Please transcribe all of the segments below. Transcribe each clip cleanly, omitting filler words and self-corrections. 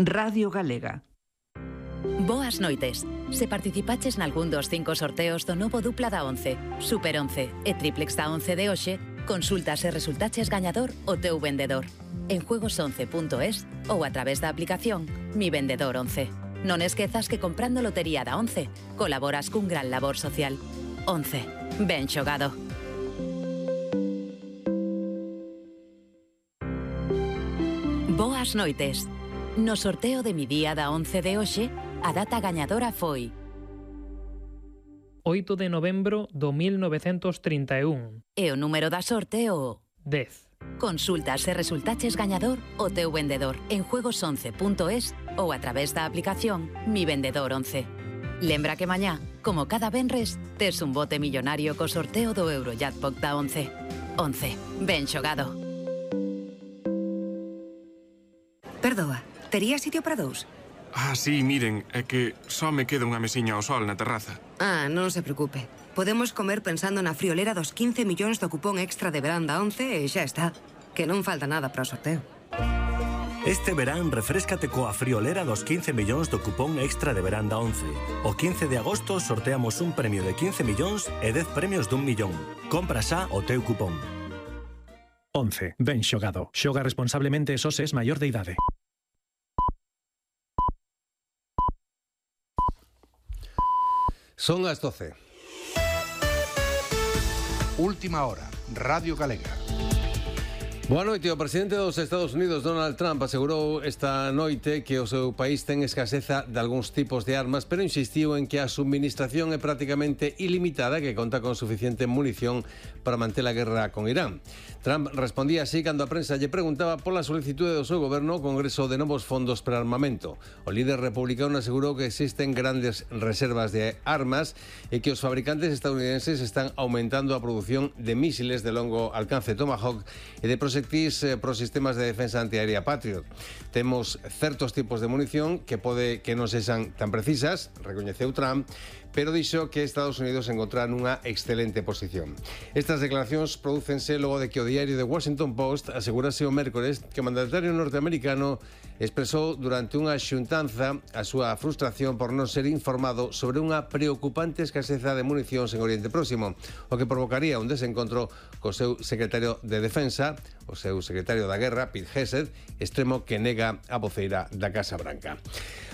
Radio Galega. Boas noites. Se participaches nalgún dos 5 sorteos do novo dupla da 11, Super 11 e Triplex da 11 de hoxe, consulta se resultaches gañador o teu vendedor en juegos11.es ou a través da aplicación Mi Vendedor 11. Non esquezas que comprando lotería da 11 colaboras cun gran labor social. 11. Ben xogado. Boas noites. No sorteo de Mi Día da 11 de hoxe, a data gañadora foi 8 de novembro do 1931. E o número da sorte o 10. Consulta se resultaches gañador o teu vendedor en juegos11.es ou a través da aplicación Mi Vendedor 11. Lembra que mañá, como cada venres, tes un bote millonario co sorteo do Eurojackpot da 11. 11. Ben xogado. Perdoa, tería sitio para dous? Sí, miren, é que só me queda unha mesiña ao sol na terraza. Non se preocupe. Podemos comer pensando na friolera dos 15 millóns do cupón extra de verán da 11 e xa está. Que non falta nada para o sorteo. Este verán refréscate coa friolera dos 15 millóns do cupón extra de verán da 11. O 15 de agosto sorteamos un premio de 15 millóns e 10 premios d'1 millón. Compra xa o teu cupón. 11. Ben xogado. Xoga responsablemente e só se es maior de idade. Son as 12. Última hora, Radio Galega. Boa noite. O presidente dos Estados Unidos, Donald Trump, asegurou esta noite que o seu país ten escaseza de algúns tipos de armas, pero insistiu en que a subministración é prácticamente ilimitada e que conta con suficiente munición para manter a guerra con Irán. Trump respondía así cando a prensa lle preguntaba pola solicitude do seu goberno ao Congreso de novos fondos para armamento. O líder republicano asegurou que existen grandes reservas de armas e que os fabricantes estadounidenses están aumentando a produción de mísiles de longo alcance Tomahawk e de proxectis para os sistemas de defensa antiaérea Patriot. Temos certos tipos de munición que pode que non sexan tan precisas, recoñeceu Trump, pero dixo que Estados Unidos encontrará nunha excelente posición. Estas declaracións prodúcense logo de que o diario The Washington Post asegurase o mércores que o mandatario norteamericano expresou durante unha xuntanza a súa frustración por non ser informado sobre unha preocupante escaseza de municións en Oriente Próximo, o que provocaría un desencontro co seu secretario de Defensa, o seu secretario da Guerra, Pete Hegseth, extremo que nega a voceira da Casa Branca.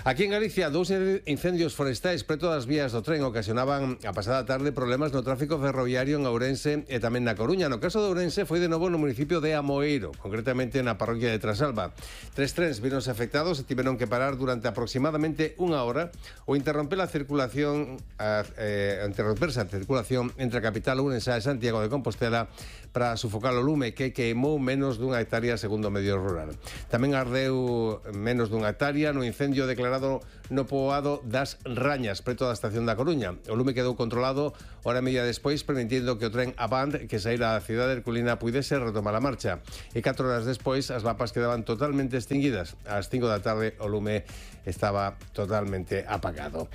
Aquí en Galicia, 2 incendios forestais preto das vías do tren ocasionaban a pasada tarde problemas no tráfico ferroviario en Ourense e tamén na Coruña. No caso de Ourense foi de novo no municipio de Amoeiro, concretamente na parroquia de Trasalba. 3 trens víronse afectados e tiveron que parar durante aproximadamente unha hora ou interromperse a circulación entre a capital ourensá e Santiago de Compostela para sufocar o lume que queimou menos dunha hectárea segundo o medio rural. Tamén ardeu menos dunha hectárea no incendio declarado no poboado das Rañas, preto da estación da Coruña. O lume quedou controlado hora e media despois, permitindo que o tren Avant que saíra da cidade herculina puidese retomar a marcha. E 4 horas despois as vapas quedaban totalmente extinguidas. Ás 5 da tarde o lume estaba totalmente apagado.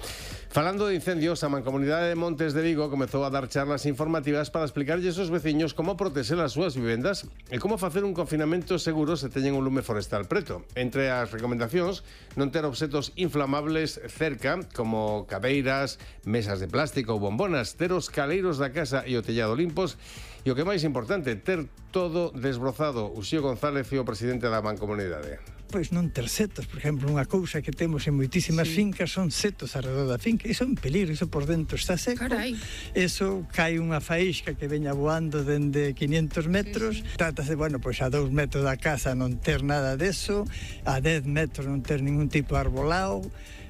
Falando de incendios, a Mancomunidade de Montes de Vigo comezou a dar charlas informativas para explicarlles aos veciños como protexer as súas vivendas e como facer un confinamento seguro se teñen un lume forestal preto. Entre as recomendacións, non ter obxetos inflamables cerca, como cabeiras, mesas de plástico ou bombonas, ter os caleiros da casa e o tellado limpos e o que máis importante, ter todo desbrozado. Uxío González é o presidente da Mancomunidade. Pois non ter setos, por exemplo, unha cousa que temos en moitísimas fincas son setos alrededor da finca, iso é un peligro, iso por dentro está seco. Carai. Eso cae unha faísca que veña voando dende 500 metros, trátase, pois a 2 metros da casa non ter nada deso, a 10 metros non ter ningún tipo de arbolado,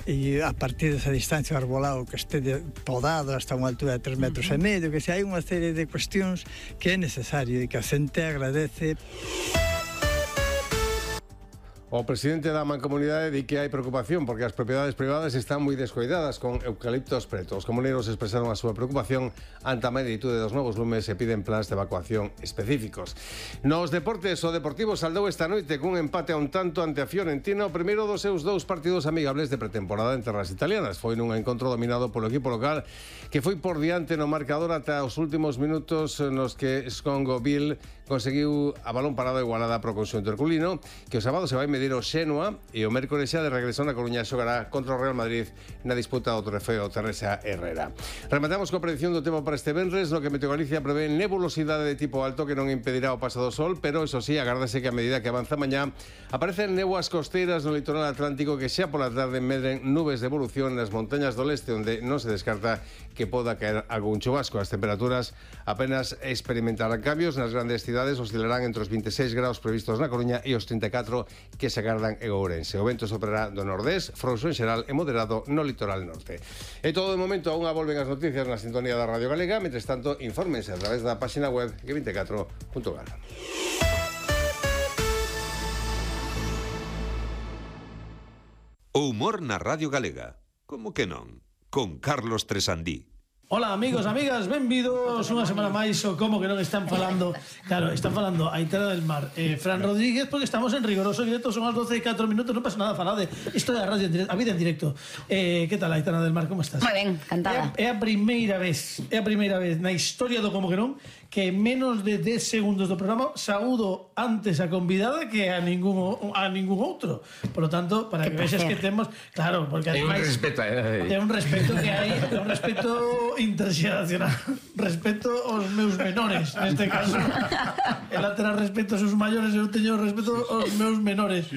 e a partir desa distancia o arbolado que este podado hasta unha altura de 3 metros e medio, que se hai unha serie de cuestións que é necesario e que a xente agradece. O presidente da Mancomunidade di que hai preocupación porque as propiedades privadas están moi descoidadas con eucaliptos pretos. Os comuneiros expresaron a súa preocupación ante a magnitude dos novos lumes e piden plans de evacuación específicos. Nos deportes, o Deportivo saldou esta noite cun empate a un tanto ante a Fiorentina, o primeiro dos seus 2 partidos amigables de pretemporada en terras italianas. Foi nun encontro dominado polo equipo local que foi por diante no marcador ata os últimos minutos nos que Scongo Bill conseguiu a balón parado igualada pro conxunto herculino, que o sábado se vai medir o Xenua e o mércores xa de regreso na Coruña xogará contra o Real Madrid na disputa do trofeo Teresa Herrera. Rematamos coa predicción do tempo para este venres, no que Meteo Galicia prevé nebulosidade de tipo alto que non impedirá o paso do sol, pero eso sí, agárdase que a medida que avanza mañá aparecen néboas costeiras no litoral atlántico que xa pola tarde medren nubes de evolución nas montañas do leste, onde non se descarta que poda caer algún chubasco. As temperaturas apenas experimentarán cambios. Nas grandes cidades oscilarán entre os 26 graus previstos na Coruña e os 34 que se agardan en Ourense. O vento soprará do nordés, frouxo en xeral e moderado no litoral norte. E todo de momento, aún volven as noticias na sintonía da Radio Galega. Mentres tanto, infórmense a través da página web g24.gal. O humor na Radio Galega. Como que non? Con Carlos Tresandí. Hola amigos, amigas, benvidos unha semana máis o Como que non están falando. Claro, están falando Aitana del Mar, Fran Rodríguez, porque estamos en rigoroso directo, son as 12:04, non pasa nada, falade. Isto é a radio en directo, a vida en directo. Que tal, Aitana del Mar, como estás? Moi ben, encantada. É a primeira vez na historia do Como que non que en menos de 10 segundos do programa saúdo antes a convidada que a ningún outro. Por lo tanto, para que vexas que temos, claro, porque ademais é un respeto que hai, é un respeto interxeracional, respeto aos meus menores, neste caso. Ela terá respeto aos seus maiores, eu teño respeto aos meus menores.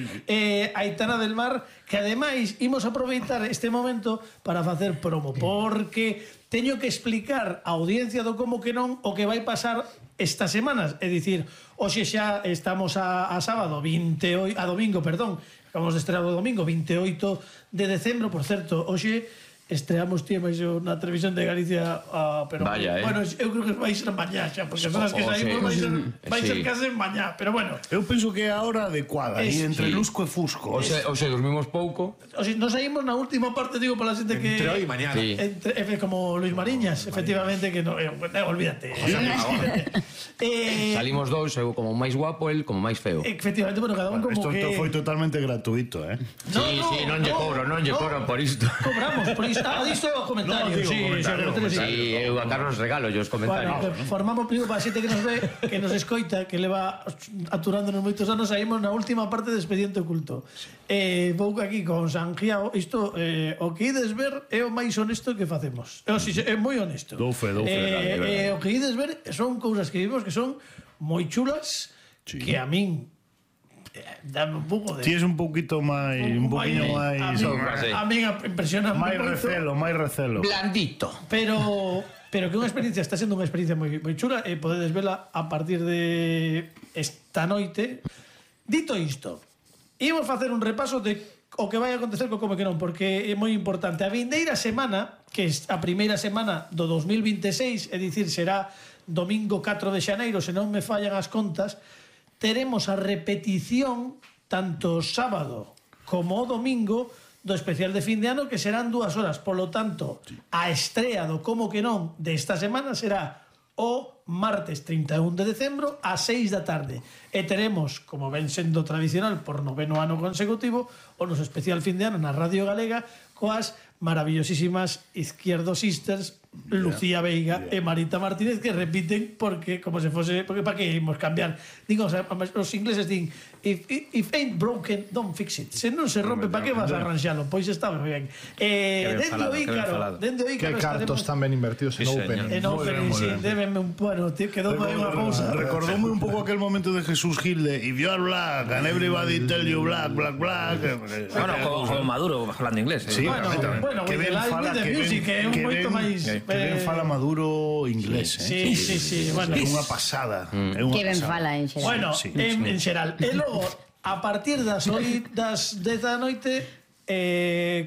Aitana del Mar, que ademais imos aproveitar este momento para facer promo, porque teño que explicar á audiencia do Como que non o que vai pasar estas semanas. É dicir, hoxe xa estamos a domingo, acabamos de estrear o domingo, 28 de decembro, por certo, hoxe estreamos máis na televisión de Galicia, pero vaya, bueno, eu creo que vai ser mañá xa, porque as horas que saímos vai ser case mañá, pero bueno. Eu penso que é a hora adecuada, e entre lusco e fusco. Oxe, dormimos pouco. Oxe, nos saímos na última parte, digo, para a xente que... Entre hoy e mañana. Como Luis Mariñas, efectivamente, que no... olvídate. Salimos dous, eu como máis guapo, el como máis feo. Efectivamente, bueno, cada un como que... Isto foi totalmente gratuito, Sí, non lle cobro por isto. Cobramos por isto. Disto o comentario. Sí, eu a Carlos regalo os comentarios. Bueno, formamos primeiro para a xente que nos ve, que nos escoita, que leva aturándonos moitos anos, saímos na última parte de Expediente Oculto. Vou aquí con Sanjiao, isto, o que ides ver é o máis honesto que facemos. É moi honesto. Dou fe. O que ides ver son cousas que vimos que son moi chulas, que a min dame un pouco de... Ti es un poquito máis... A mí impresiona máis recelo. Blandito. Pero que unha experiencia, está sendo unha experiencia moi chula e podedes vela a partir de esta noite. Dito isto, imos facer un repaso de o que vai acontecer co Como que non, porque é moi importante. A vindeira semana, que é a primeira semana do 2026, é dicir, será domingo 4 de xaneiro, se non me fallan as contas, teremos a repetición tanto sábado como o domingo do especial de fin de ano, que serán 2 horas. Por lo tanto, a estrea do Como que non desta semana será o martes 31 de decembro a 6 da tarde. E teremos, como ven sendo tradicional por 9º ano consecutivo, o noso especial fin de ano na Radio Galega coas maravillosísimas Izquierdo Sisters, Lucía Veiga e Marita Martínez, que repiten porque como se fose, porque para que imos cambiar, digo, o sea, os ingleses din if ain't broken, don't fix it. Se non se rompe, para que vas a arranxalo? Pois está moi ben. Dende o Ícaro que cartos tan ben invertidos en Open. En Open, sí, débeme un... Bueno, quedou aí unha cousa. Recordoume un pouco aquel momento de Jesús Gil de if you are black and everybody tell you black. Bueno, con Maduro falando inglés. Sí, bueno, que ben fala que é un moito máis... Que ben fala Maduro inglés, Sí, bueno, é unha pasada. Que ben fala en xeral. Bueno, en xeral. E logo, a partir das 10 da noite,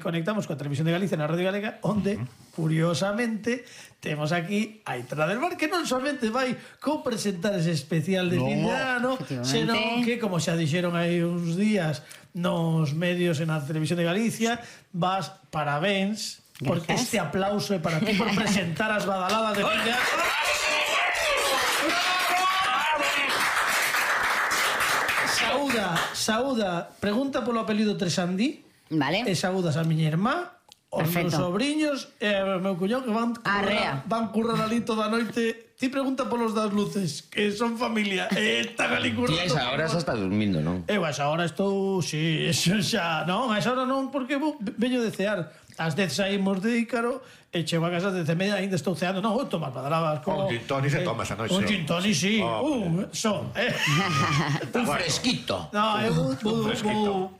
conectamos coa Televisión de Galicia na Radio Galega, onde, curiosamente, temos aquí a Aitana del Mar, que non somente vai co-presentar ese especial de fin de ano, senón que, como xa dixeron aí uns días nos medios e na Televisión de Galicia, vas, parabéns, porque este aplauso é para ti por presentar as badaladas de fin de ano. Saúda, pregunta polo apelido Tresandí. Vale. E saúdas a miña irmá, os meus sobriños e o meu cuñado, que van currar ali toda a noite ti pregunta polos das luces, que son familia, están ali currando. Ti a esa hora xa está dormindo, non? Eu a esa hora estou, si, eso xa, non, a esa hora non, porque veño de cear. Ás 10 saímos de Ícaro e chego a casa de 10:30, ainda estou ceando. Non, tomas badrabas con... Un gin tonic se toma esa noite. Un gin tonic, sí. Un fresquito. No, eu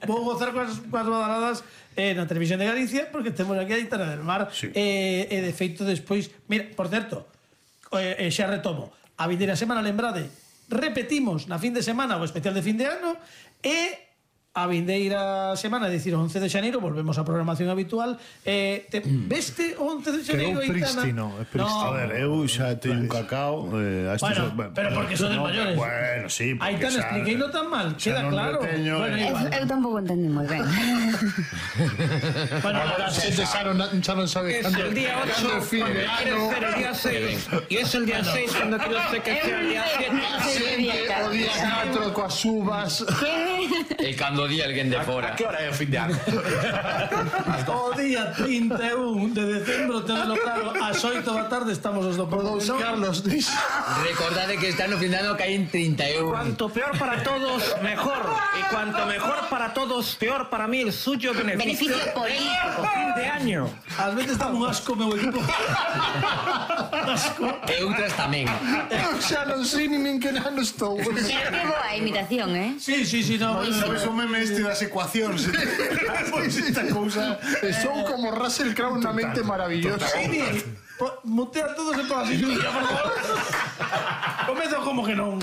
vou gozar coas badradas na Televisión de Galicia, porque temos aquí a Aitana del Mar. E de feito despois... Mira, por certo, xa retomo. A vindeira semana, lembrade, repetimos na fin de semana o especial de fin de ano e... A vindeira semana, é dicir, o 11 de xaneiro, volvemos á programación habitual. Veste o 11 de xaneiro, Aitana? É prístino. A ver, eu xa teño un cacao. Bueno, pero porque sodes maiores. Bueno, sí. Aitana, expliquei non tan mal, queda claro. Eu tampouco entendí moi ben. Bueno, agora a xente xa non sabe cando el día 8 cuando quieres ser el día 6 y es el día 6 cuando quieres ser que sea el día 7. o día 4 coas uvas. E cando día alguén de fora. A que hora é o fin de ano? O día 31 de decembro, tenelo claro, ás 8 da tarde estamos os do Todos Carlos. Recordade que está no fin de ano que hai en 31. Cuanto peor para todos, mejor. Y cuanto mejor para todos, peor para mí el suyo beneficio político. Fin de año. Ás veces dá un asco meu equipo. Asco. E outras tamén. Eu xa non sei nin que ano estou. Pero que boa imitación, Sí, no. Sabes o meme este das ecuacións? Pois esta cousa... Son como Russell Crowe na mente maravillosa. Mutea todos e por así. Comezo como que non.